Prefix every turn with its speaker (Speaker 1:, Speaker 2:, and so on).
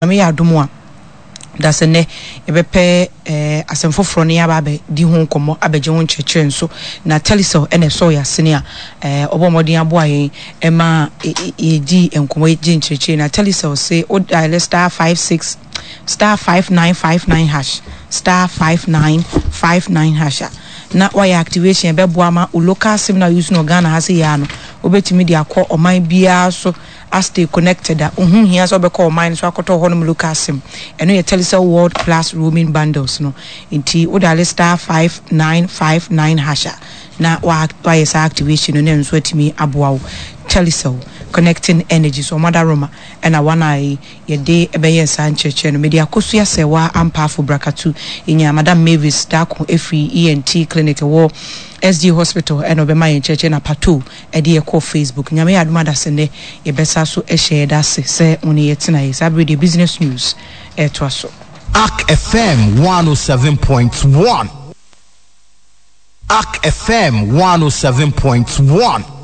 Speaker 1: Nyame yɛ adom a, dasɛ nnɛ yɛbɛpɛ eh, asɛm foforɔ na yɛaba abɛdi ho nkɔmmɔ, abɛgye ho nkyerɛkyerɛ nso. Na Telecel na ɛsɔɔ yɛn asene a eh, ɔbɔɔ mmɔden aboa yɛn ma yɛdii nkɔmmɔ, yɛgye nkyerɛkyerɛ. Na Telecel se wo dial star 56 star 5959 hash star 5959 hash a na wayɛ activation ɛbɛboa ma wo local sim na use no Ghana ha sɛ yɛ ano wobɛtumi de akɔ ɔman biara so A Stay connected a, ho nhia sɛ wobɛkɔ ɔman no so akɔtɔ hɔnom local sim. Ɛno yɛ Telecel World Plus Roaming Bundles no. Nti wo diale star 5959 hash a, na woayɛ saa activation no na ɛno nso atumi aboa wo. Telecel, connecting energy. So wɔn adaworoma na wɔn a yɛde bɛyɛɛ saa nkyerɛkyerɛ no. Mede Akosua Serwaa Ampaafo Brakatu, yɛnyaa Madam Mavis Darko firi ENT Clinic ɛwɔ SG Hospital ɛna ɔbɛma yɛn nkyerɛkyerɛ na Pato ɛde yɛ kɔɔ Facebook. Nyame yɛ adom adase nnɛ yɛbɛsa so hyɛ yɛda ase sɛ wo ne yɛ tenaeɛ. Saa bere deɛ Business News ɛretoa so.
Speaker 2: Ark FM 107.1. Ark FM 107.1.